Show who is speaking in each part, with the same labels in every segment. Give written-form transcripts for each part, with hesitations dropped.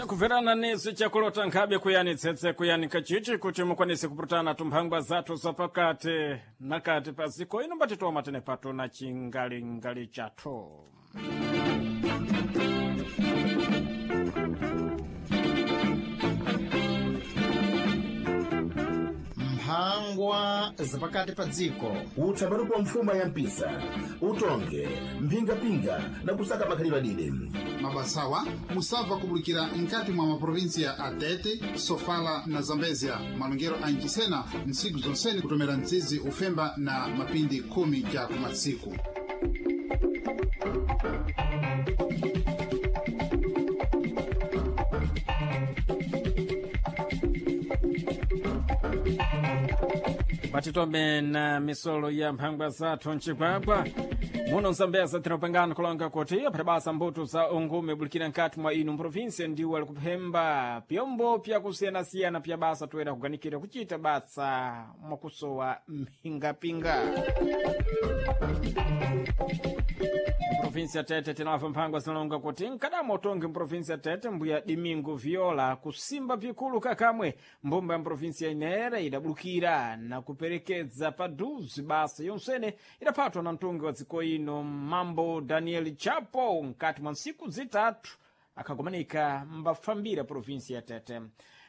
Speaker 1: Chakumverana nesu chakulota nkhabe kuyani tsetse kuyani kachichi kuti mukwanise kupurutana tumphangwa zathu zapakati nakati pa ziko ino mbatitoma tene pato na chingalingali chathu.
Speaker 2: Mphangwa zapakati pa dziko.
Speaker 3: Utsapatu kwa mfuma ya mpisa, utonge mphingapinga na kusaka makhalidwe adide.
Speaker 4: Mabasawa musabva kubulikira nkati mwa maprovinsiya a Tete, Sofala na Zambezia. Malongero a Nchisena ntsiku zonsene kutomera mtsizi ufemba na mapindi 10 ja kumatsiku.
Speaker 1: Batitome na misolo ya mphangwa zathu mcigwagwa muno mzambeza tinopangana kulonga kuti aphata basa mbuto za ungume bulikira nkati mwa inu mprovinsia ndiwo ali kuphemba pyombo pyakusiyanasiyana pya basa toera kuganikira kuchita basa mwakusowa mphingapinga. Mprovinsia Tete tinamva mphangwa zinalonga kuti mkadamo utongi mprovinsia Tete mbuya Domingo Viola kusimba pikulu kakamwe mbumba ya mprovinsia inera idabulukira na kuperekedza paduzi basa yonsene idaphatwa na mtungi wa dziko ino mambo Daniel Chapo mkati mwa ntsiku zitatu akhagomanika mbafambira provinsia ya Tete.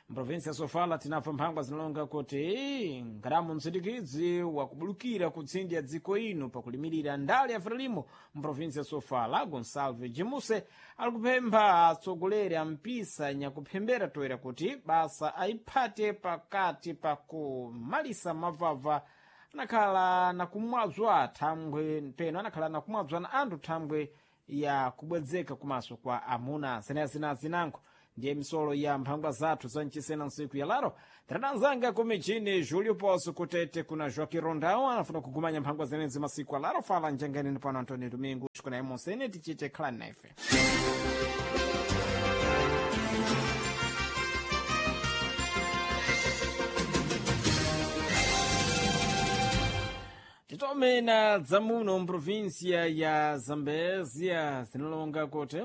Speaker 1: Mprovinsi ya Sofala tinapfa mphangwa zinalonga kuti nkadamu msindikidzi wakubulukira ku tsindi ya dziko ino pakulimirira ndale ya Frelimo mprovinsi ya Sofala Gonsalve Jimuse ali kupempha atsogoleri a mpisa nyakuphembera toera kuti basa ayiphate pakati pakumalisa mavava anakhala nakumwadzwa thangwe peno anakhala nakumwadzwa na anthu thangwe ya kubwedzeka kumaso kwa amuna zenazina zinango. Ndiye misolo ya mphangwa zathu za mchisena ntsiku ya laro tatanzanga kumichini Julio Poço kutete kuna Joaquim Rondão anafuna kugumanya mphangwa zenezi masiku alaro fala njanganini pano Antônio Domingo kuna imonsene tichite khalani na ife. Titome na dzamuno mprovinsia ya Zambezia zinalonga kuti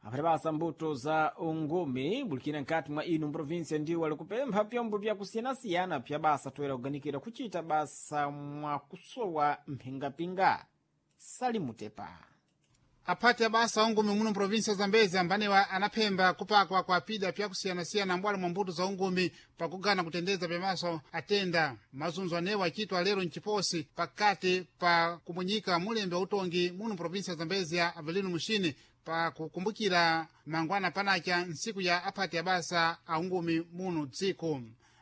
Speaker 1: aphati basa mbuto za ungumi bulikira nkati mwa inu mprovinsia ndiwo ali kupempha pyombo pyakusiyanasiyana pya basa toera kuganikira kuchita basa mwakusowa mphingapinga. Salimutepa.
Speaker 4: Aphati abasa ungumi muno mprovinsia ya Zambezia ambanewa anaphemba kupakwa kwa pida pyakusiyanasiyana mbwalo mwa mbuto za ungumi pakugana kutendeza pyamaso atenda. Mazunzo anewa achitwa lero mchiposi pakati pa kumunyika mulembe wa utongi muno mprovinsia ya Zambezia Avelino Mushini pakukumbukira mangwana panacha ntsiku ya aphati abasa aungumi muno dziko.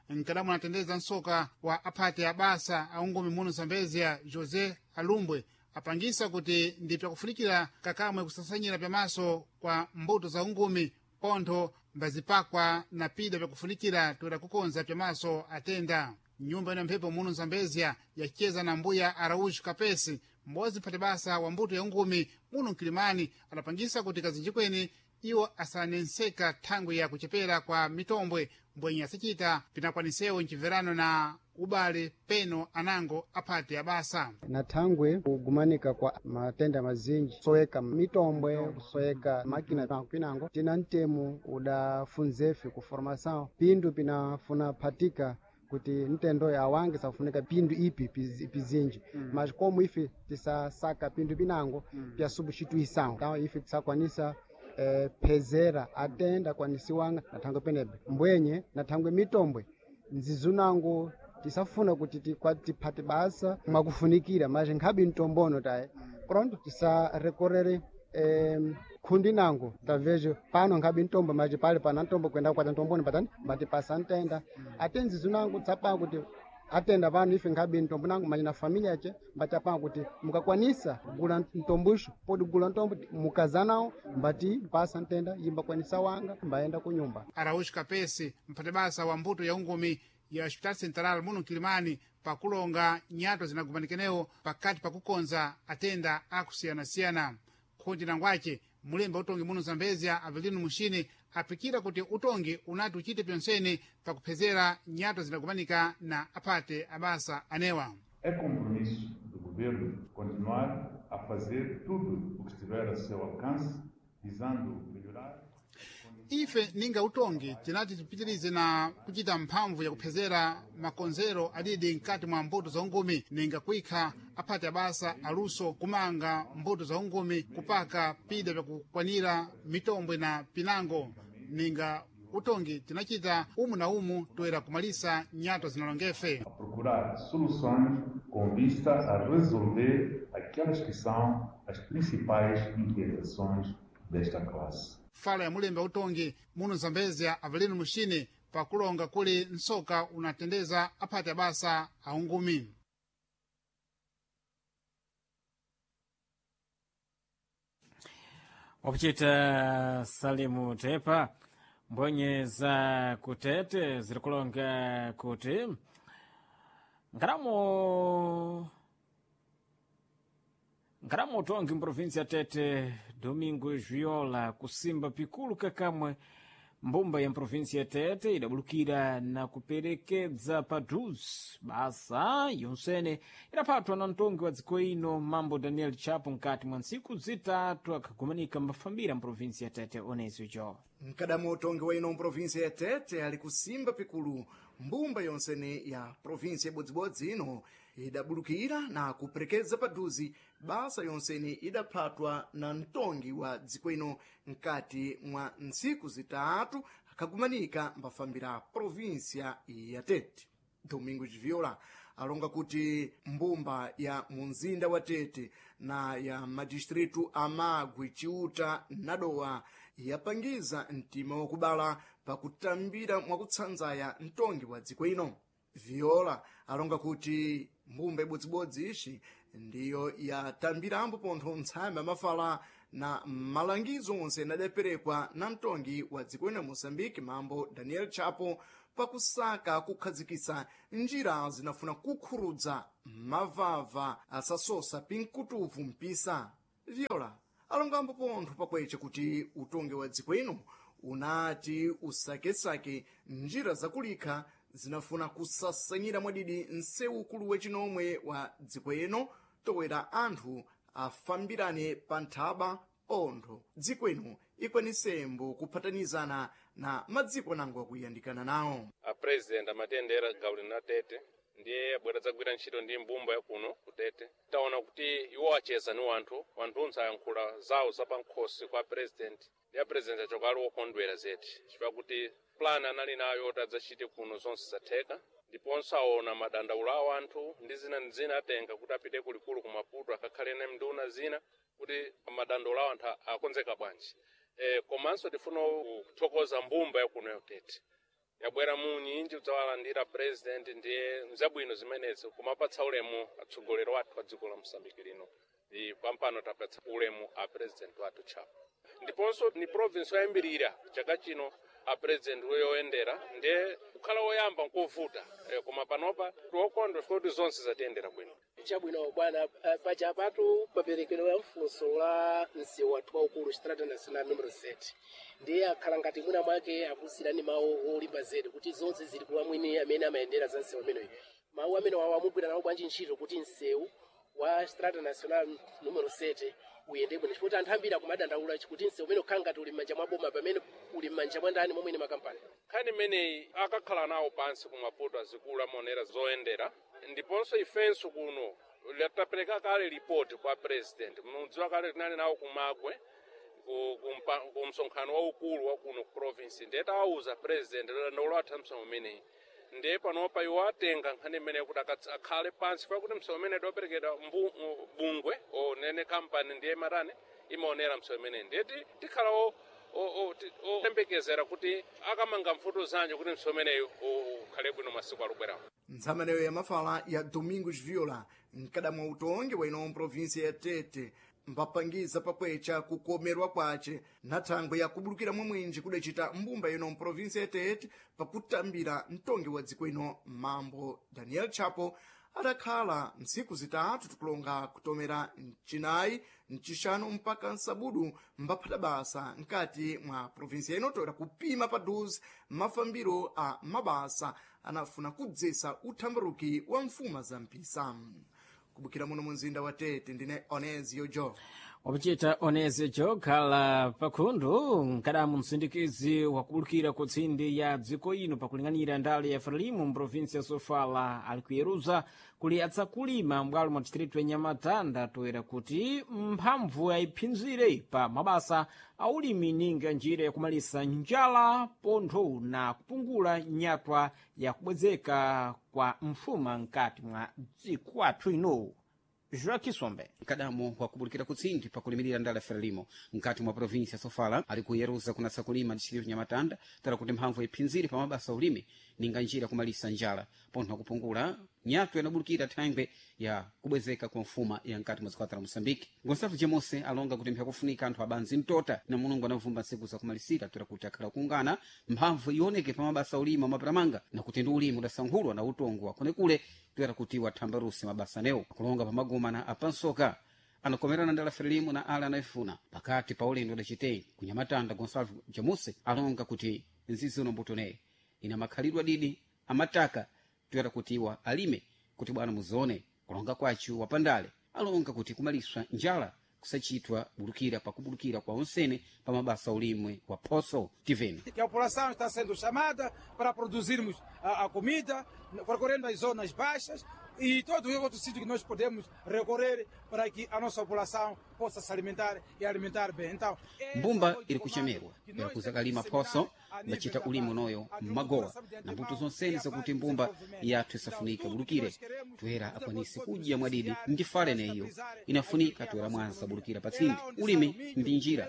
Speaker 4: Mkadamu anatendeza msoka wa aphati abasa aungumi muno Zambezia José Alumbwe apangisa kuti ndi pyakufunikira kakamwe kusasanyira pyamaso kwa mbuto za ungumi pontho mbazipakwa na pida pyakufunikira toera kukonza pyamaso atenda. Nyumba ino mphepo muno Zambezia yacheza na mbuya Araújo Kapesi m'bodzi mphati basa wa mbuto ya ungumi muno mkilimani adapangisa kuti kazinji kweni iwo asanenseka thangwi ya kuchepera kwa mitombwe mbwenye asachita pinakwanisewo mchimverano na ubale peno anango aphati abasa.
Speaker 5: Na thangwe kugumanika kwa matenda mazinji kusoweka mitombwe kusoweka makina pinango tina mtemo udafunzefe ku formação pindu pinafuna phatika kuti mtendo awange safunika pindu ipi pizinji. Mas como ife tisasaka pindu pinango pya substituição então ife tisakwanisa phezera atenda kwanisiwanga na thangwe penebe mbwenye na thangwe mitombwe nzizunango tisafuna kuti tiphate basa mwakufunikira mas nkhabe mtombono taye pronto tisarekorere khundi nango tavejo pano nkhabe ntombo maji pale pana ntombo kwenda kwata ntomboni patani batipasa ntenda. Ate nzizu nango tsapanga kuti atenda pano ife nkhabe ntombo nango maji na familia yace mbatapanga kuti mukakwanisa gula ntombuxo podi gula ntombo mukazanawo mbati pasa ntenda yimbakwanisa wanga mbayenda kunyumba.
Speaker 4: Araújo Kapesi mphati basa wa mbuto ya ungumi ya Hospital Central muno mkilimani pakulonga nyato zinagumanikinewo pakati pakukonza atenda akusiyanasiyana. Khundi nangwace mulembe utongi muno Zambezia Avelino Mushini apikira kuti utongi unati uchite pyonsene pakuphezera nyato zinagumanika na aphate abasa anewa.
Speaker 6: É compromisso do governo continuar a fazer tudo o que estiver a seu alcance, visando melhorar.
Speaker 4: Ife ninga utongi tinati tipitirize na kuchita mphamvu yakuphezera makonzero adidi mkati mwa mbuto za ungumi, ninga kuikha aphati abasa aluso kumanga mbuto za ungumi, kupaka pida vyakukwanira mitombwe na pinango. Ninga utongi tinachita umu na umu toera kumalisa nyato zinalongefe.
Speaker 6: A procurar soluções com vista a resolver aquelas que são as principais inquietações desta classe.
Speaker 4: Fala ya mulembe wa utongi muno Zambezia Avelino Muxine pakulonga kuli nsoka unatendeza aphati abasa aungumi.
Speaker 1: Wakuchita Salimu Tepa, mbwenye za kutete zirikulonga kuti nkaramo utongi mprovinsi ya Tete Domingo Viola kusimba pikulu kakamwe mbumba ya mprovinsi ya Tete idabulukira na kuperekedza paduzi basa yonsene idaphatwa na mtongi wa dziko ino mambo Daniel Chapo nkati mwa ntsiku zitatu akhagumanika mbafambira mprovinsi ya Tete. Onezio jo
Speaker 7: Mkadamo utongi wa ino mprovinsi ya Tete ali kusimba pikulu mbumba yonsene ya provinsi yabodzibodzi ino idabulukira na kuperekeza paduzi basa yonsene idaphatwa na mtongi wa dziko ino nkati mwa ntsiku zitatu akagumanika mbafambira provinsia ya Tete. Domingos Viola alonga kuti mbumba ya munzinda wa Tete na ya madistritu a Magwe, Chiuta na Dowa yapangiza mtima wakubala pakutambira mwakutsanzaya mtongi wa dziko ino. Viola alonga kuti mbumba ibodzibodzi ixi ndiyo yatambirambo pontho ntsame amafala na malangizo onse adaperekwa na mtongi wa dziko ino Moçambique mambo Daniel Chapo pakusaka kukhazikitsa njira zinafuna kukhurudza mavava asasosa pinkutuvu mpisa. Viola alongambo pontho pakweche kuti utongi wa dziko ino unati usakesake njira zakulikha zinafuna kusasanyira mwadidi msewu ukulu wachinomwe wa dziko ino towera anthu afambirane pa nthaba pontho dziko ino ikwanisembo kuphatanizana na madziko nango akuyandikana nawo.
Speaker 8: A president amatendera gawo lino la Tete ndiye abwera dzagwira ntchito ndi mbumba yakuno ku Tete. Taona kuti iwo acheza ni wanthu, wanthunthu ayankhula zawo zapankhosi kwa president, ndi a president achoka ali wokondwera zedi chifukwa kuti plan anali nayo yoti adzachite kuno zonse zatheka, ndiponso aona madandaulo awo anthu ndi zina ndi zina atenga kuti apite kulikulu ku Maputo akakhale ne nduna zina kuti madandaulo awo anthu akonzeka bwanji. Komanso tifuna kuthokoza mbumba yakuno ya Tete yabwera munyinji kudzawalandira president, ndiye nzabwino zimenezi kumapatsa ulemu atsogoleri wathu a dziko la Mosambiki lino. Pampano tapatsa ulemu a president wathu Chapo, ndiponso ni province yoyambirira chaka chino a president yoyendera, ndiye kukhala woyamba nkovuta, koma panopa tiwokondwa kuti zonse zatiyendera bwino.
Speaker 9: Chabwino bwana, paja patu maperekedwe ya mfunso la msewu wathu waukulu Estrada Nacional numero 7 ndiye akhala ngati mwina mwake akusirani mawu olimba zedi kuti zonse zili kwa mwini amene amayendera za msewu ameneyo. Mawu amene wawo amugwira nawo bwanji ntchito kuti msewu wa Estrada Nacional numero 7 uyende bwino, chifukwa anthu ambiri akumadandaula kuti msewu umene ukhala ngati uli m'manja mwa boma pamene uli m'manja mwa ndani momwe ni makampani.
Speaker 8: Nkhani imeneyi akakhala nawo pansi ku Maputo azikulu amaonera zoyendera, ndiponso ifenso kuno tapereka kale ripoti kwa president. Mudziwa kale tinali nawo kumagwe ku msonkhano waukulu wa kuno ku province, ndiye tawauza president dandaulo atha msewu umeneyi, ndiye panopa iwo atenga nkhani imeneyi kuti akhale pansi pakuti msewu umene adaperekedwa bungwe onene kampani ndiye matani imaonera msewu imeneyi, ndiye tikhala oyembekezera kuti akamanga mfuto zanji kuti msewu umeneyi ukhale bwino masiku alubwerawo.
Speaker 7: Ntsamaneyo ya mafala ya Domingos Viola mkadamwa utongi wa ino mprovinsia ya Tete mbapangiza pakwecha kukomerwa kwace na thangwe ya kubulukira mwamwinji kudacita mbumba ino mprovinsia ya Tete pakutambira mtongi wa dziko ino mambo Daniel Chapo adakhala msiku zitatu tikulonga kutomera mcinayi, mcixanu mpaka msabudu mbaphata basa nkati mwa provinsia ino toera kupima paduzi mafambiro a mabasa anafuna kudzesa uthambaruki wa mfuma za mpisa. Kubukira muno munzinda wa Tete ndine Onezio Jo.
Speaker 1: Wakuchita onezecho khala pakhundu nkadamu msindikizi wakubulukira ku tsindi ya dziko ino pakuling'anira ndale ya frelimu mprovinsi ya sofala ali kuyeruza kuli atsakulima m'bwalo mwa distritu ya nyamatanda toera kuti mphamvu ayiphinzire pa mabasa a ulimi ninga njira yakumalisa njala pontho na kupungula nyatwa yakubwezeka kwa mfuma mkati mwa dziko athu ino. Joaquim
Speaker 10: Mkadamo wakubulikira kutsindi pakulimirira ndala ya Frelimo mkati mwa provinsi ya Sofala ali kuyeruza kunatsa kulima distritu Nyamatanda tala kuti mphamvu iphinzire pa mabasa ulimi ninga njira kumalisa njala pontho kupungula nyatwa inabulukira thangwe ya kubwezeka kwa mfuma ya mkati mwa zikwata la Moçambique. Gonçalo Jemose alonga kuti mphakufunika anthu abanzi mtota na Mulungu anavumba ntsiku zakumalisira toera kuti akhala kungana mphamvu ioneke pa mabasa ulimi amaparamanga na kuti ndi ulimi udasankhulwa na utongo wakonekule toera kuti wathambaruse mabasa anewo kulonga pamaguma na apansoka anakomerana ndala Frelimo na ala anayifuna pakati pa ulendo udacitei kunyamatanda. Gonçalo Jemose alonga kuti nzizi uno mbuto ina makhalidwe adidi amataka toera kuti iwa alime kuti bwana muzione kulonga kwachu wapandale alonga kuti kumaliswa njala kusachitwa bulukira pakubulukira kwa onsene pa mabasa ulimwe wa phoso tiveni.
Speaker 11: Que a população está sendo chamada para produzirmos a comida, percorrendo as zonas baixas e todos os outros sítios que nós podemos recorrer para que a nossa população possa se alimentar e alimentar bem. Então,
Speaker 10: mbumba iri kuchemerwa iri kuzakalima phoso mbacita ulimi unoyo mmagowa na mbuto zonsene zakuti mbumba yathu isafunika bulukire toera akwanise kudya mwadidi ndi fale neyo inafunika toera mwanza bulukira patsindi ulimi ndi njira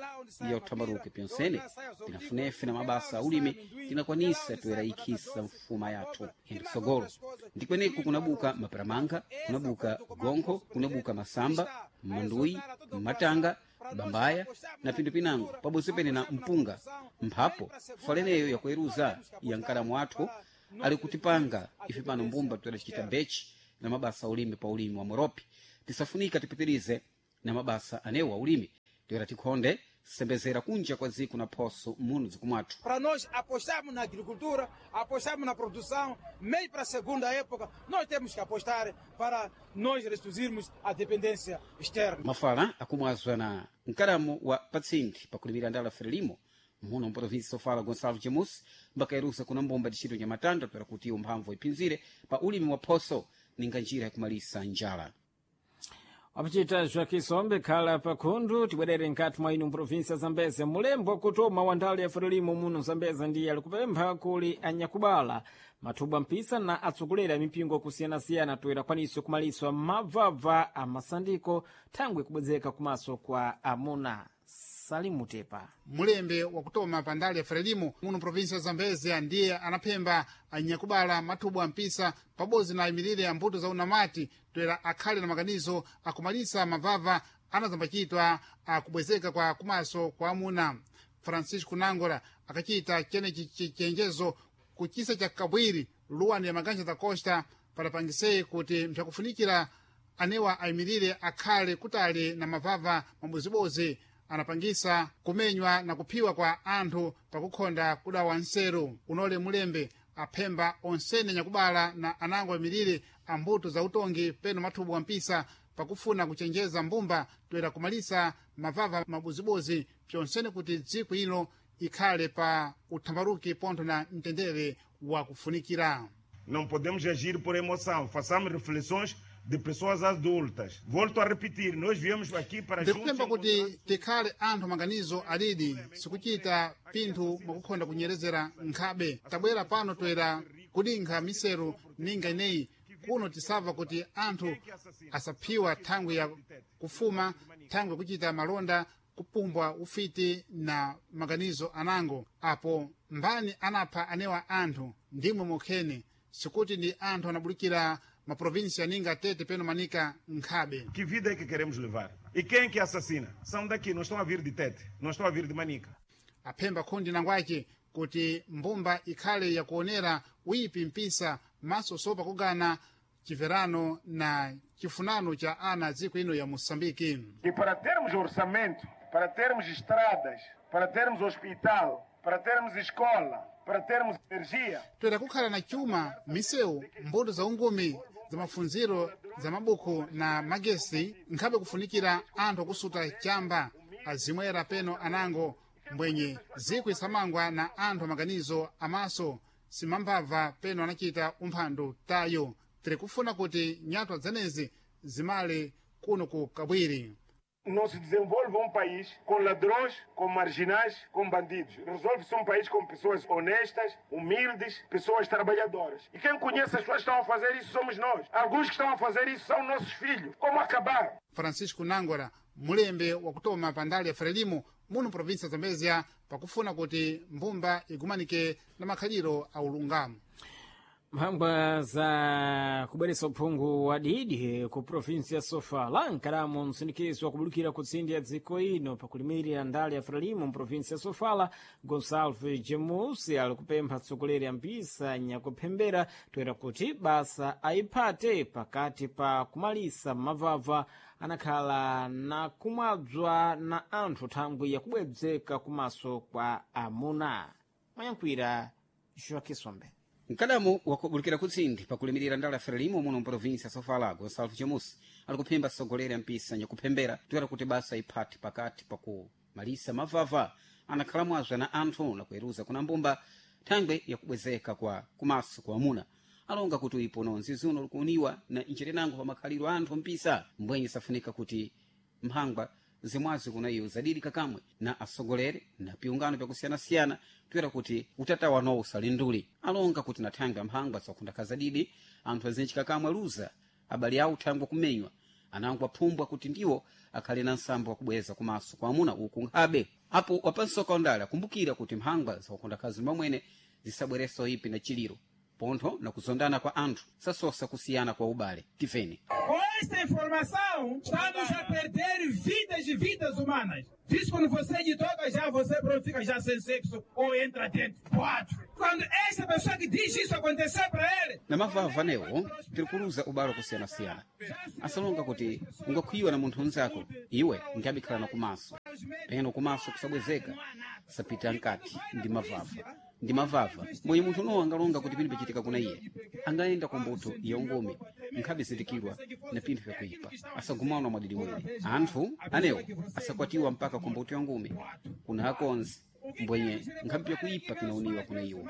Speaker 10: ya uthambaruke pyonsene tinafunefe na mabasa a ulimi tinakwanisa toera ikhisa mfuma yathu ende kusogolo ndikweneku kunabuka maparamanga, kunabuka gonkho, kunabuka masamba, manduyi, matanga, bambaya na pindu pinango pabodzi pene na mpunga mphapo faleneyo yakueruza ya mkalamu athu ali kutipanga ife pano mbumba toera bechi na mabasa ulimi pa ulimi wa moropi tisafunika tipitirize na mabasa anewo a ulimi toera tikhonde sembezera kunja kwa dziko na phoso muno dzikumwathu.
Speaker 11: Para nós apostarmos na agricultura, apostarmos na produção, meio para a segunda época, nós temos que apostar para nós reduzirmos a dependência externa.
Speaker 10: Mafala akumwazwa na mkalamu wa patsindi pakulimira ndala Frelimo muno mprovinsi Sofala Gonçalo Jemus mbakairusa kuna mbumba distrito Nyamatanda toera kuti iyo mphamvu iphinzire pa ulimi wa phoso ninga njira yakumalisa njala.
Speaker 1: Wakuchita Joaquim khala pakhundu tibwerere nkati mwa inu mprovinsi ya Zambeze mulembo wakutoma wa ndale ya Frelimo muno Zambeze ndiye alikupempha kuli anyakubala mathubwa mpisa na atsogoleri a mipingo kusiyanasiyana toera kwaniso kumaliswa mabvabva a masandiko thangwe kubwezeka kumaso kwa amuna. Salimutepa
Speaker 4: mulembe wakutoma pa ndale ya Frelimo muno provinsi ya Zambezia ndiye anaphemba anyakubala mathubwa ampisa pabodzi na ayimirire a mbuto za unamati toera akhale na maganizo akumalisa mavava anazambachitwa akubwezeka kwa kumaso kwa amuna. Francisco Nangora akachita chenechi chenjezo kuchisa cha Kabwiri luwani ya Maganja da Costa padapangisei kuti mpyakufunikira anewa ayimirire akhale kutali na mavava mabozibozi anapangisa kumenywa na kuphiwa kwa anthu pakukhonda kudawa nseru. Unole mulembe aphemba onsene nyakubala na anango ayimirire ambuto za utongi peno mathubu ampisa pakufuna kuchenjeza mbumba toera kumalisa mavava mabozibozi pyonsene kuti dziko ino ikhale pa uthambaruki pontho na mtendere wa kufunikira.
Speaker 12: Não podemos agir por emoção, façamos reflexões de pessoas adultas. Volto a repetir, nós viemos aqui para
Speaker 4: ndikupemba kuti tikhale anthu maganizo alidi sikuchita pinthu mwakukhonda kunyerezera nkhabe. Tabwera pano toera kudinkha miseru ninga ineyi kuno tisabva kuti anthu asaphiwa thangwi ya kufuma, thangwi yakuchita malonda, kupumbwa ufiti na maganizo anango. Apo mbani anapha anewa anthu ndimwe mokhene sikuti ndi anthu anabulikira maprovinsi aninga Tete peno Manika nkhabe.
Speaker 12: Que vida é que queremos levar? E quem é que assassina? São daqui, não estão a vir de Tete, não estão a vir de Manica.
Speaker 4: Aphemba khundi nangwace kuti mbumba ikhale yakuonera uyipi mpisa maso sopa kugana chimverano na chifunano cha ana dziko ino ya Moçambique.
Speaker 12: E para termos orçamento, para termos estradas, para termos hospital, para termos escola, para termos energia.
Speaker 4: Toera kukhala na chuma, misewu, mbuto za ungumi, za mafunziro, za mabuku na magesi nkhabe kufunikira anthu akusuta chamba azimwera peno anango mbwenye zikwi isamangwa na anthu amaganizo amaso simambava peno anachita umphandu tayo. Tiri kufuna kuti nyatwa zenezi zimale kuno ku Kabwiri.
Speaker 12: Não se desenvolve país com ladrões, com marginais, com bandidos. Resolve-se país com pessoas honestas, humildes, pessoas trabalhadoras. E quem conhece as pessoas que estão a fazer isso somos nós. Alguns que estão a fazer isso são nossos filhos. Como acabar?
Speaker 4: Francisco Nangora, mulembe wakutoma pandali ya Frelimo muno província Zambezia, pakufuna kuti mbumba igumanike na makhaliro a ulungamo.
Speaker 1: Mphangwa za kubweretsa uphungu wa didi ku provinsi ya Sofala nkalamu msindikizo wakubulukira ku tsindi ya dziko ino pakulimirira ndale ya Frelimo mprovinsi ya Sofala, Gonsalves Jamus ali kupempha atsogoleri ambisa nyakuphembera toera kuti basa ayiphate pakati pa kumalisa mavava anakhala na kumwadzwa na anthu thangwi yakubwedzeka kumaso kwa amuna. Mayankhwira Joaquim Sombe.
Speaker 10: Mkadamu wakubulukira kutsindi pakulimirira ndala ya Frelimo muno mprovinsi ya Sofala, Gonsalves Jamus ali kuphemba atsogoleri ampisa nyakuphembera toera kuti basa iphati pakati pakumalisa mavava anakhala mwazwa na anthu na kuyeruza kuna mbumba thangwe yakubwezeka kwa kumaso kwa amuna. Alonga kuti uipo nonzi zuno likuuniwa na ncherenango pa makhaliro a anthu mpisa mbwenye safunika kuti mphangwa zimwazi kuna iyo zadidi kakamwe na atsogoleri na piungano pyakusiyanasiyana toera kuti utatawa nowo usalinduli. Alonga kuti na thangwe amphangwa zakhundakha zadidi anthu azinji kakamwe aluza abale awo thangwe kumenywa anango aphumbwa kuti ndiwo akhale na nsambo wakubweza kumaso kwa amuna uku nkhabe. Apo wapansoka ondale akumbukira kuti mphangwa zakukhundakhazi mamwene zisabwereso ipi na chiliro pontho na kuzondana kwa anthu sasosa kusiyana kwa ubale. Tifeni.
Speaker 11: Com esta informação, estamos a perder vidas e vidas humanas. Diz quando você lhe toca já, você pronto, fica já sem sexo ou entra dentro. Quatro. Quando esta pessoa que diz isso acontecer para ele,
Speaker 10: na mavava newo tiri kuluza ubale wakusiyanasiyana. Asalonga kuti ungakhwiwa na munthu unzako iwe nkabikhala na kumaso peno kumaso kusabwezeka sapita nkati ndi mavava ndi mavava mwenye munthu unowo angalonga kuti pinthu pichitika kuna iye angayenda ku mbuto ya ungumi nkhabe zindikirwa na pinthu pyakuipa asagumana mwadidi mwene anthu anewo asakwatiwa mpaka ku mbuto ya ngumi kuna akonzi mbwenye nkhabe pyakuipa pinauniwa kuna iwo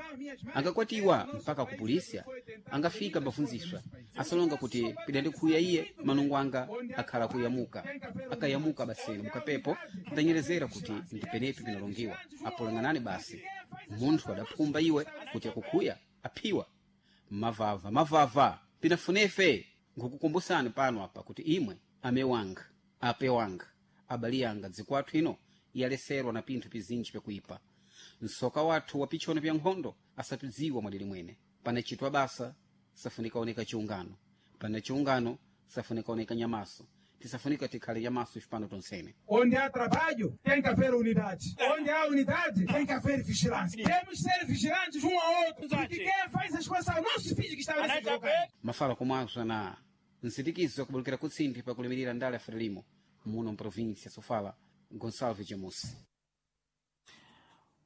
Speaker 10: angakwatiwa mpaka ku polisia angafika mbafunziswa asalonga kuti pidandikhuya iye manungo anga akhala kuyamuka akayamuka baseni mukapepo ndanyerezera kuti ndipenepi pinalongiwa apolang'anani basi munthu adaphumba iwe kuti akukhuya aphiwa mavava mavava pinafunefe nkukukumbusani pano apa kuti imwe ame wanga ape wanga abali yanga dziko athu ino yaleserwa na pinthu pizinji pyakuipa msoka wathu wa pichono pya nkhondo asatudziwa mwadili mwene panachitwa basa safunika oneka chiungano pana chiungano safunika oneka nyamaso tisafunika tikhale nyamaso ifipano tonsene.
Speaker 11: Onde há trabalho, tem que haver unidade. Onde há unidade, tem que haver vigilância. Temos que ser vigilantes ao outro. Porque quem faz essas coisas são nossos filhos que estão nesse lugar.
Speaker 10: Mafala komwazwa na nsindikizo yakubulukira kutsindi pakulimirira ndale ya Frelimo muno mprovinsia Sofala, Gonsalves Jamus.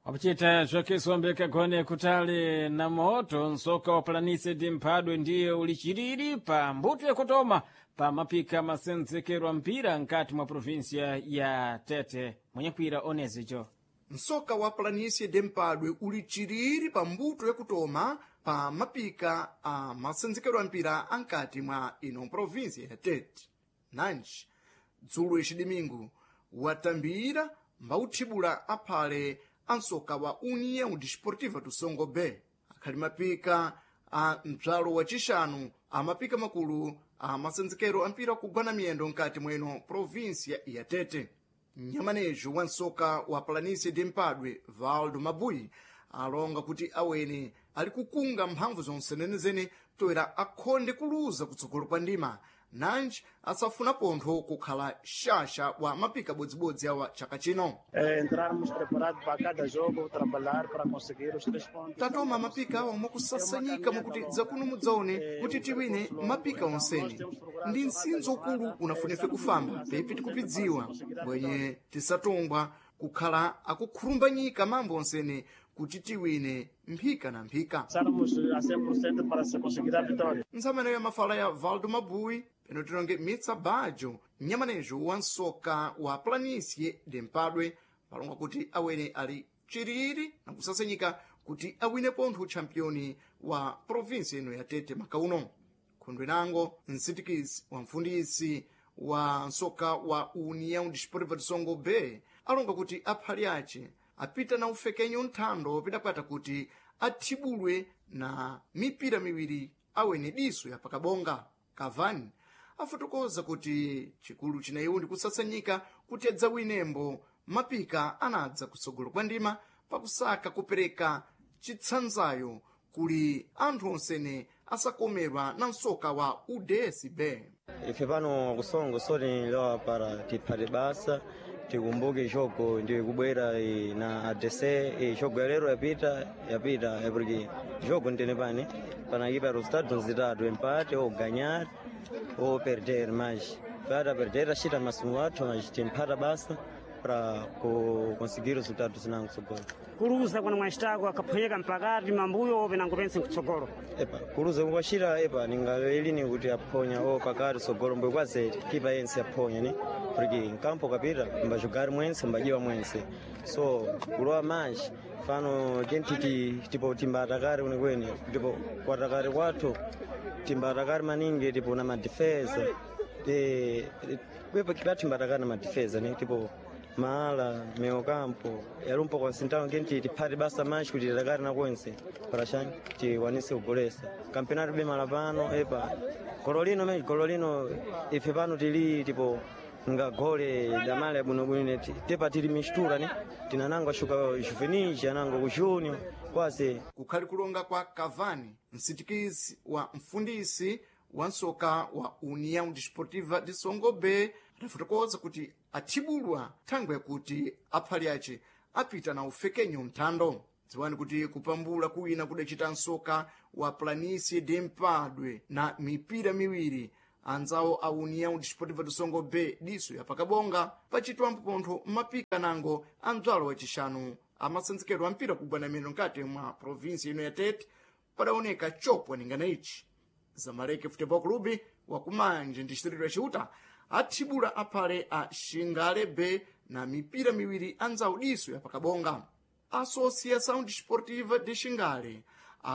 Speaker 1: Wakuchita zvakeso kagone kutali na moto nsoka wa planície de mphadwe ndiye uli chiriri pa mbuto yakutoma pa mapika masenzekero mpira nkati mwa província ya Tete. Mwenyekwira onezicho.
Speaker 7: Msoka wa planície de mpadwe uli chiriri pa mbuto yakutoma pa mapika a masenzekero a mpira ankati mwa ino província ya Tete. Nanji dzulo ixidimingu watambira mbauthibula aphale a msoka wa União Desportiva do Songo B akhali mapika a mbzalo wa cixanu a mapika makulu a masenzekero a mpira kugwana miyendo nkati mweno província ya Tete. Mnyamanejo wa msoka wa Planície de Mpadwe Valdo Mabui alonga kuti awene ali kukunga mphamvu zonse toera akhonde kuluza kutsogolo kwa ndima nanji asafuna pontho kukhala xaxa wa mapika bodzibodzi awa chaka chino.
Speaker 13: Entrarmos preparados para cada jogo, trabalhar para conseguir os três pontos.
Speaker 7: Tatoma mapika awa mwakusasanyika mwakuti dzakuno mudzaone kuti tiwine mapika onsene. Ndi msinzo ukulu unafunefe kufamba pepi tikupidziwa bwenye tisatongwa kukhala akukhurumbanyika mambo onsene kuti tiwine mphika na mphika.
Speaker 13: Estamos a 100% para se conseguir a vitória.
Speaker 7: Ntsamene ya mafala ya Valdo Mabui peno tilonge Mitsa Bajo mnyamanejo wa nsoka wa Planície de Mpadwe palonga kuti awene ali chiriri na kusasenyika kuti awine pontho championi wa provinsi ino ya Tete makauno. Khundwe nango msitikisi wa mfundisi wa nsoka wa União Desportiva de Songo B alonga kuti aphali ace apita na ufekenyo nthando pidakwata kuti athibulwe na mipira miwiri awene diso ya pakabonga. Cavani afotokoza kuti chikulu chineyu ndi kusasanyika kuti adzawinembo mapika anadza kutsogolo kwa ndima pakusaka kupereka chitsanzayo kuli anthu onsene asakomerwa na msoka wa UDSB.
Speaker 14: Ife pano kusongo soti lowa para tiphate basa tikumbuke jogo ndi kubwera na ADC jogo yalero yapita yapita porque jogo ndene pane panakipa resultado zitatu empate ou ganhar ou perder, mas para perder achita masumo athu mas timphata basa para conseguir resultado zinango tsogolo.
Speaker 15: Kuluza kuna mwachitako akaphwanyika mpakati mambuyo penango pense kutsogolo.
Speaker 14: Epa kuluza kukwachita epa ningalelini kuti aphonya o pakati tsogolo mbwe kwazere kipa yense aphonya ni porque nkampo kapita mbajugari mwense mbajiwa mwense so kulowa manji fano kenti tipo timbatakari kwenikweni tipo kwatakari kwathu timbatakari maningi tipo na madifesa kwepa kipatimbatakari na madifesa ni tipo maala meokampo yalumpo kwa sintano kenti tiphate basa manji kuti titakari na kwense para tiwanise kugolesa kampeonato bemala pano epa golo lino me golo lino ife pano tili tipo ngagole damale abwinobwino tepa tili mistura ni tinanango ashuka juvenis anango ku junior kwase
Speaker 7: kukhali kulonga kwa Cavani msitikizi wa mfundisi wa nsoka wa União Desportiva de Songo B adafotokoza kuti athibulwa thangwe yakuti aphali ace apita na ufekenyo mthando. Dziwani kuti kupambula kuwina kudacita nsoka wa Planície de Mpadwe na mipira miwiri anzawo a União Desportiva do Songo B diso ya pakabonga pachitwambo pontho mapika nango a mdzwalo wacixanu amasenzekero a mpira kugwana meno nkati mwa provinsi ino ya Tete padaoneka chopwa ningana ichi. Zamalek Futebol Clube wakumanje ndi distrito ya Ciuta athibula aphale a Xingale B na mipira miwiri anzawo diso ya pakabonga. Associação Desportiva de Xingale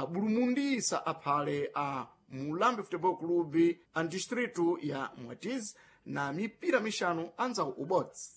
Speaker 7: abulumundisa aphale a Mulambe Futebol Clube a distrito ya Mwatizi na mipira mixanu anzawo ubodzi.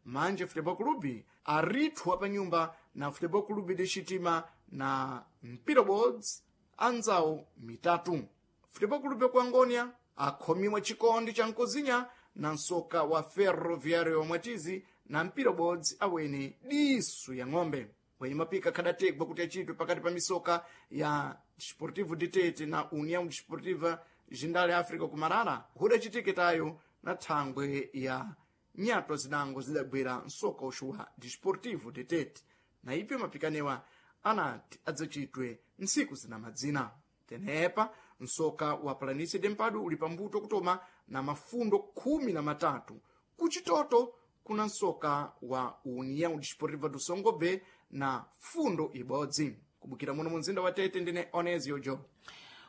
Speaker 7: Manje Futebol Clube arithwa pa nyumba na Futebol Clube de Xitima na mpira ubodzi anzawo mitatu. Futebol Clube ku Angônia akhomiwa chikondi cha nkozinya na nsoka wa Ferroviário Mwatizi na mpira ubodzi awene diso ya ng'ombe. Wenye mapika khadategwa kuti achitwe pakati pa misoka ya Desportivo de Tete na União Desportiva Jindale África kumarara hudacitike tayo na thangwe ya nyatwa zinango zidagwera msoka uxuwa Desportivo de Tete na ipyo mapikanewa anati adzacitwe ntsiku zina madzina. Tenepa msoka wa Planície de Mpadwe uli pambuto kutoma na mafundo 13 kuchitoto kuna msoka wa União Desportiva do Songo B na fundo ibodzi. Kubukira muno mu mzinda wa Tete ndine Onesio Jo.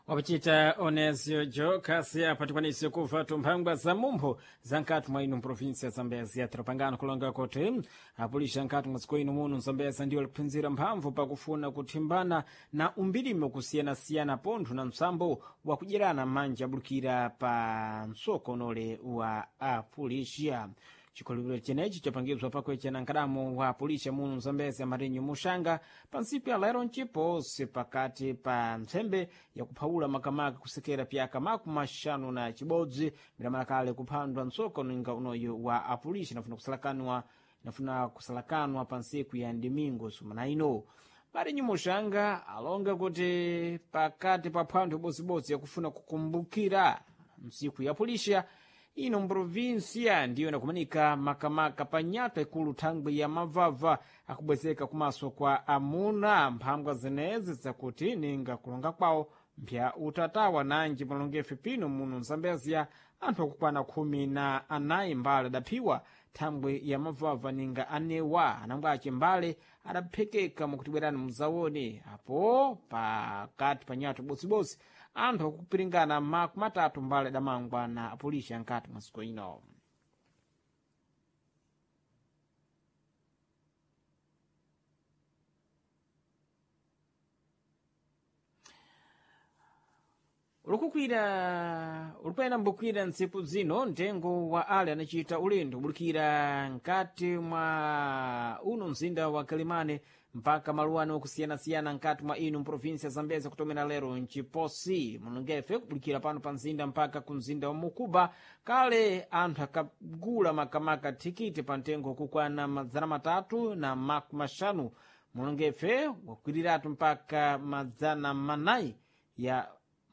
Speaker 1: Wapachita Onesio Jo kasi apa tikwanise kuva tumphangwa za mumpho za nkati mwa ino mprovinsi ya Zambezia. Tilapangano kulonga kuti apulisha nkati mwa dziko ino muno Mzambezia ndiyo liphinzira mphamvu pakufuna kuthimbana na umbirimo kusiyanasiyana pontho na msambo wakudyerana manja abulukira pa msoko unole wa apulisha. Chikhulupiriro chenechi chapangizwa pakuechana nkadamo wa pulisha muno Mzambezi Marinho Muxanga pa ntsiku ya lero mciposi pakati pa ntsembe yakuphawula makamaka kusekera pyaka 56 milamalakale kuphandwa msoko ninga unoyu wa apulisha nafuna kusalakanwa pa ntsiku ya ndimingo sumana ino. Marinho Muxanga alonga kuti pakati pa phwantho ibodzi yakufuna kukumbukira ntsiku ya pulisha ino mprovinsia ndiyo inakumanika makamaka pa nyatwa ikulu thangwi ya mavava akubwezeka kumaso kwa amuna mphangwa zenezi zakuti ninga kulonga kwawo mpya utatawa nanji malongefe pino muno Mzambezia Anthu akukwana 14 mbale adaphiwa thambwe ya mavava ninga anewa anangwace mbale adaphekeka mukuti bwerani mudzaone apo pakati pa nyato bodzibozi anthu akupiringana 30 mbale adamangwa na apolisi ankati mwa dziko ino. Ulikukwira ulipena mbukwira ntsiku zino mtengo wa ale anachita ulendo kubulikira nkati mwa uno mzinda wa Kalimane mpaka maluwano okusiyanasiyana nkati mwa inu mprovinsia Zambezi kutomera lero mchiposi mulungefe kubulikira pano pa mzinda mpaka ku mzinda wa Mukuba. Kale anthu akagula makamaka thikiti pa mtengo kukwana 350, mulungefe wakwiriratu mpaka 400 ya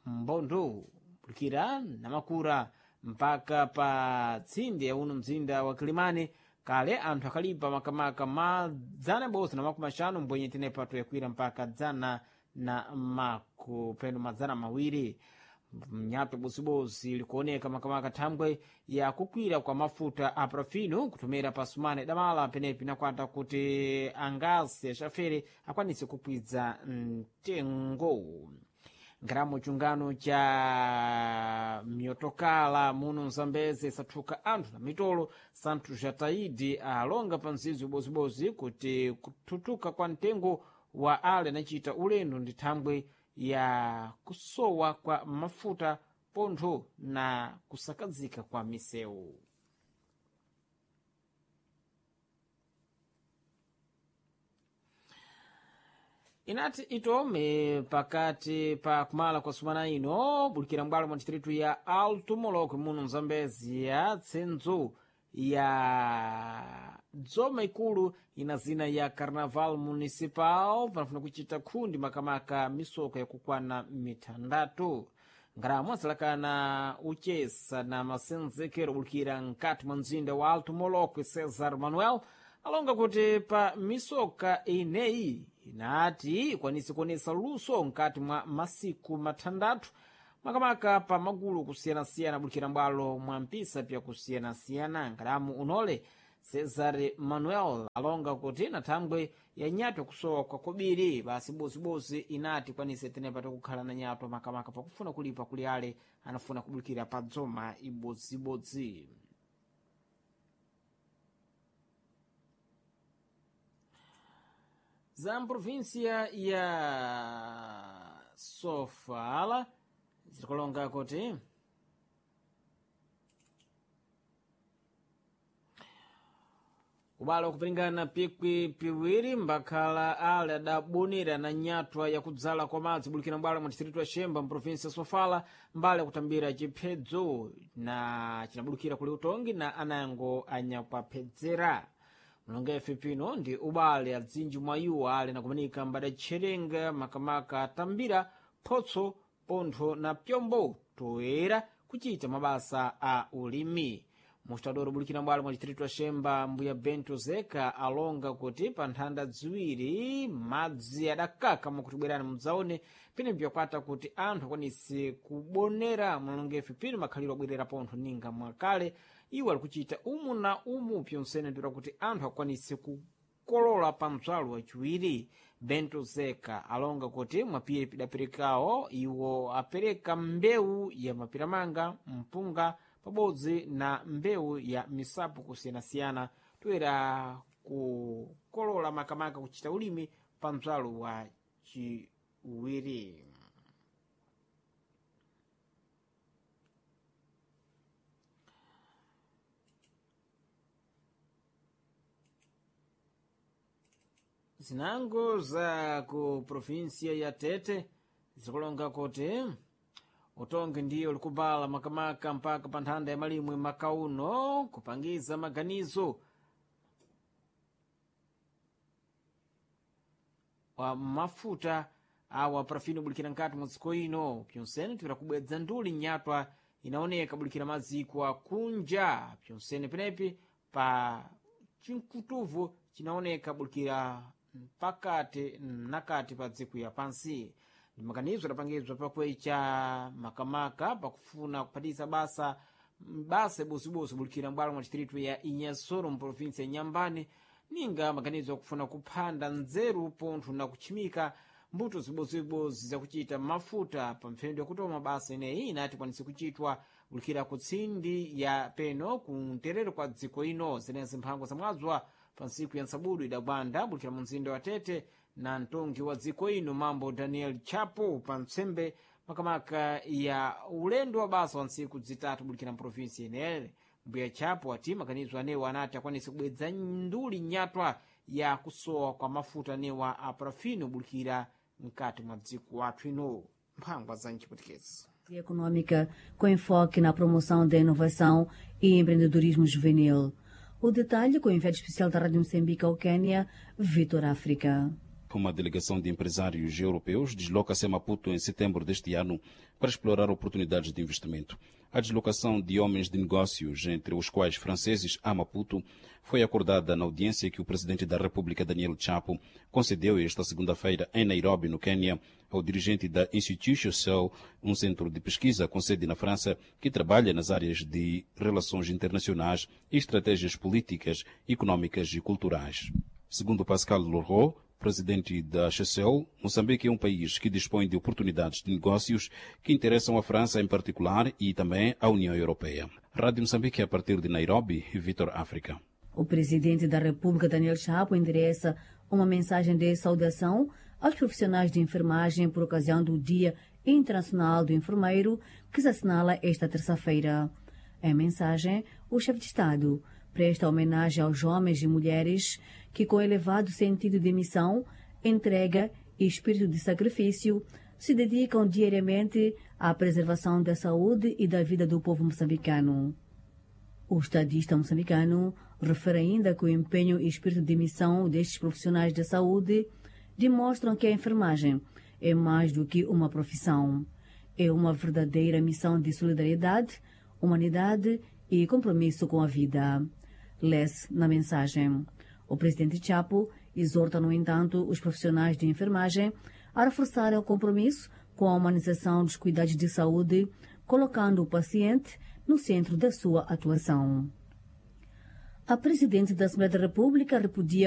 Speaker 1: mbondo kulikira namakura mpaka pa tsinde ya uno mzinda wa Kilimani. Kale anthu akalipa makamaka 150 mbwenye tenepa toyakwira mpaka dzana na makupeno 200. Mnyato bozibozi likuoneka makamaka thambwe ya kukwira kwa mafuta a parafino kutumira pa sumane damala penepi nakwata kuti angasi axafere akwanise kukwidza mtengo. Ngaramo chungano cha myotokala muno Mzambeze sathuka anthu na mitolo. Santhu Jataidi alonga pa mzizi ubozibozi kuti kuthutuka kwa mtengo wa ale anachita ulendo ndi thambwe ya kusowa kwa mafuta pontho na kusakazika kwa misewu. Inati itome pakati pa kumala kwa sumana ino bulikira mbwalo mwa distritu ya Alto Molokwe muno Mzambezi ya tsenzo ya dzoma ikulu ina zina ya Carnaval Municipal panafuna kuchita khundi makamaka misoko yakukwana mitandatu. Ngaramo azalakana uchesa na masenzekero bulikira nkati mwa mzinda wa Alto Molokwe Cesar Manuel alonga kuti pa misoka ineyi inati ikwanise kuonesa luso nkati mwa masiku mathandatu makamaka pa magulu kusiyanasiyana bulikira mbwalo mwa mpisa pya kusiyanasiyana. Ngalamu unole Cesar Manuel alonga kuti na thambwe ya nyato kusowa kwa kobiri basi bozibozi inati ikwanise tenepa tikukhala na nyato makamaka pakufuna kulipa kuli ale anafuna kubulikira pa dzoma ibodzibodzi. Za mprovinsia ya Sofala zirikulonga kuti ubale wakupiringana pikwi piwiri mbakhala ale adabonera na nyatwa yakudzala kwa madzi bulikira mbwalo mwa distritu ya Xemba mprovinsia ya Sofala mbale akutambira chiphedzo na chinabulukira kuli utongi na anango anyakwapedzera. Mlongefe pino ndi ubale adzinji mwa iwo ale nakumanika mbadatcherenga makamaka atambira photso pontho na pyombo toyera kuchita mabasa a ulimi. Mustadoro bulikira mbwalo mwa distritu ya Xemba mbuya Bento Zeka alonga kuti pa nthanda ziwiri madzi adakaka mukuti bwerani mudzaone pene byakwata kuti anthu akwanise kubonera mlongefe pino makhaliro abwerera pontho ninga mwakale iwo ali kuchita umu na umu pyonsene ndira kuti anthu akwanise kukolola pa mdzalo wachiwiri. Bento Zeka alonga kuti mwapiri pidaperekawo iwo apereka mbewu ya mapiramanga, mpunga pabodzi na mbewu ya misapu kusiyanasiyana toyera kukolola makamaka kuchita ulimi pa mdzalo wa chiwiri. Zinango za ku provinsia ya Tete zikulonga kuti utongi ndiyo likubala makamaka mpaka pa nthanda ya malimwe makauno kupangiza maganizo wa mafuta awa parafini bulikira nkati mwa dziko ino pyonsene tipita kubwedza nduli nyatwa inaoneka bulikira maziko akunja pyonsene penepi pa chinkutuvu chinaoneka bulikira pakati nakati pa dziko ya pansi. Ndi maganizo adapangizwa pakwecha makamaka pakufuna kuphatisa basa basa ibozibodzi bulikira mbwalo mwa distritu ya Inhassoro mu provinsi ya Nyambane, ninga maganizo akufuna kuphanda nzeru pontho na kutchimika mbuto zibozibozi zakuchita mafuta pa mphendu yakutoma basa ineyi inati ikwanise kuchitwa bulikira ku tsindi ya peno ku mterero kwa dziko ino. Zenezi mphango zamwazwa pa ntsiku ya ntsabudu idagwanda bulikira mu mzinda wa Tete na mtongi wa dziko ino mambo Daniel Chapo pa ntsembe makamaka ya ulendo wa basa wa ntsiku zitatu bulikira mprovinsi inere. Mbuya Chapo ati maganizo anewa anati akwanise kubwedza nduli nyatwa ya kusowa kwa mafuta anewa a parafino bulikira mkati mwa dziko wathu ino. Mphangwa za mchiputikezi.
Speaker 16: Econômica com enfoque na promoção da inovação e empreendedorismo juvenil. O detalhe com o enviado especial da Rádio Moçambique ao Quênia, Vitor África.
Speaker 17: Uma delegação de empresários europeus desloca-se a Maputo em setembro deste ano para explorar oportunidades de investimento. A deslocação de homens de negócios, entre os quais franceses, a Maputo, foi acordada na audiência que o presidente da República, Daniel Chapo, concedeu esta segunda-feira em Nairobi, no Quênia, ao dirigente da Institut Cell, um centro de pesquisa com sede na França que trabalha nas áreas de relações internacionais e estratégias políticas, econômicas e culturais. Segundo Pascal Leroux, presidente da Chessel, Moçambique é um país que dispõe de oportunidades de negócios que interessam a França em particular e também à União Europeia. Rádio Moçambique a partir de Nairobi, Vitor África.
Speaker 16: O presidente da República, Daniel Chapo, endereça uma mensagem de saudação aos profissionais de enfermagem por ocasião do Dia Internacional do Enfermeiro, que se assinala esta terça-feira. Em mensagem, o chefe de Estado presta homenagem aos homens e mulheres que, com elevado sentido de missão, entrega e espírito de sacrifício, se dedicam diariamente à preservação da saúde e da vida do povo moçambicano. O estadista moçambicano refere ainda que o empenho e espírito de missão destes profissionais da saúde demonstram que a enfermagem é mais do que uma profissão. É uma verdadeira missão de solidariedade, humanidade e compromisso com a vida. Lê-se na mensagem. O presidente Chapo exorta, no entanto, os profissionais de enfermagem a reforçarem o compromisso com a humanização dos cuidados de saúde, colocando o paciente no centro da sua atuação. A presidente da Assembleia da República repudia